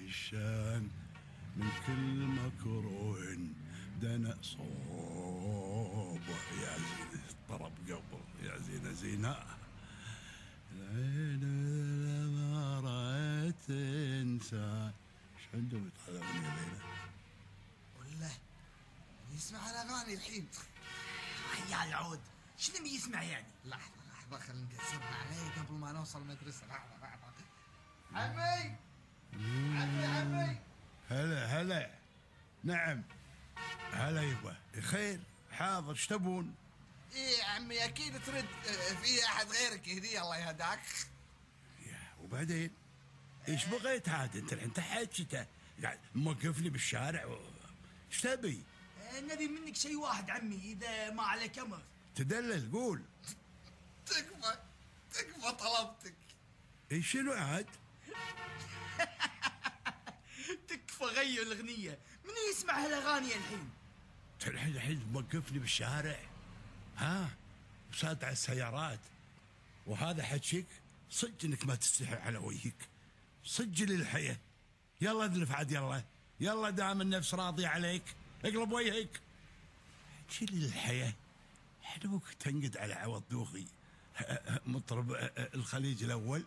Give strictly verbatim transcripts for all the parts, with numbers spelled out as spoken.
الشان من كل مكروه دنا صوب. يا زين الطرب قبل يا زين زينة العين لما رأيت إنسان. إيش عندهم يتعلمون يا ليلى؟ والله يسمع الأغاني الحين. يا العود شنو يسمع يعني؟ لحظة لحظة خلينا نقسمها عليه قبل ما نوصل المدرسة. لحظة لحظة. عمي عمي عمي. هلا هلا. نعم هلا يبا خير حاضر. ايش تبون؟ ايه عمي اكيد ترد في احد غيرك يهديه الله يهداك. يا وبعدين ايش بغيت عاد انت الحين تحكيته قاعد موقفني بالشارع و... ايش تبي؟ نبي منك شيء واحد عمي اذا ما عليك امر. تدلل قول. تكفى تكفى طلبتك. ايش شنو عاد؟ تكفى غير الاغنيه. من يسمع هالاغاني الحين؟ الحين الحين موقفني بالشارع ها وساد على السيارات وهذا حكيك صدق انك ما تستحي على وجهك. سجل الحياة. يلا ادلف عاد يلا يلا دام النفس راضي عليك اقلب وجهك. حكي لي الحياة. حلوك تنقد على عوض دوخي مطرب الخليج الاول.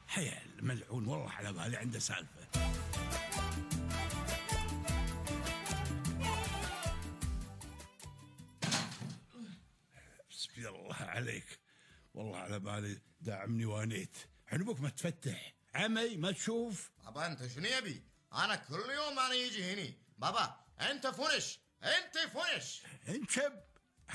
حياة الملعون والله على بالي عنده سالفة. بسم الله عليك والله على بالي داعمني وانيت. عنبك ما تفتح عمي ما تشوف. بابا انت شنو يبي؟ انا كل يوم انا يجي هني. بابا انت فنش انت فنش. انشب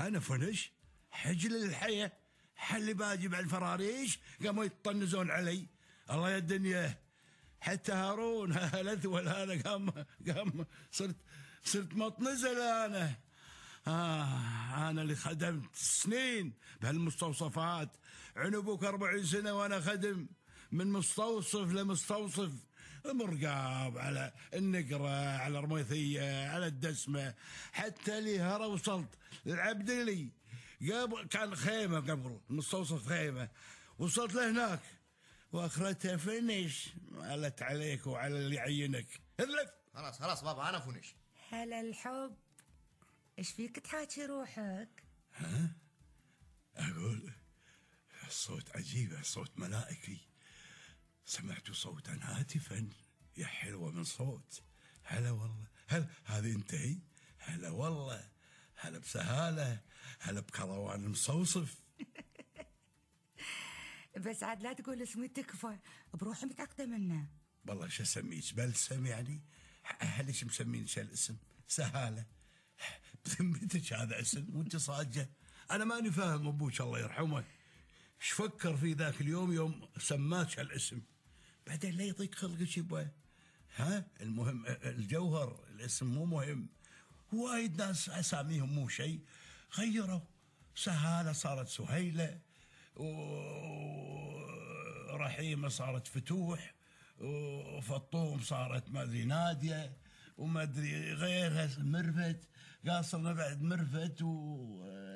انا فنش. حجل الحياة حلي باجي بعد الفراريش قاموا يطنزون علي. الله يا الدنيا حتى هارون الاثول هذا قام قام صرت صرت مطنزة انا. آه أنا اللي خدمت سنين بهالمستوصفات. عنبوك أربعين سنة وأنا خدم من مستوصف لمستوصف. مرقاب على النقرة على الرميثية على الدسمة حتى لهرة وصلت للعبد لي قبل كان خيمة قبل مستوصف خيمة وصلت لهناك وآخرتها فنش. مالت عليك وعلى اللي يعينك. اذلف. خلاص خلاص بابا أنا فنش. هلا الحب ايش فيك تحاكي روحك؟ ها اقول الصوت عجيب الصوت ملائكي. سمعت صوتا هاتفا يا حلوة من صوت. هلا والله هل هذه انتهي؟ هلا والله هلا بسهالة هلا بكروان المصوصف. بس عاد لا تقول اسمي تكفى بروحي متعقدة منه. والله شو اسميك بلسم يعني؟ هلش مسمين شو الاسم؟ سهالة. بذمتك هذا اسم وانت صاجة؟ انا ماني فاهم ابوك الله يرحمه ايش فكر في ذاك اليوم يوم سماك هالاسم. بعدين لا يضيق خلقك يبا. ها المهم الجوهر الاسم مو مهم. وايد ناس اساميهم مو شيء غيروا. سهالة صارت سهيلة ورحيمة صارت فتوح وفطوم صارت ما ادري نادية وما ادري غيرها مرفت. قاصرنا بعد مرفت و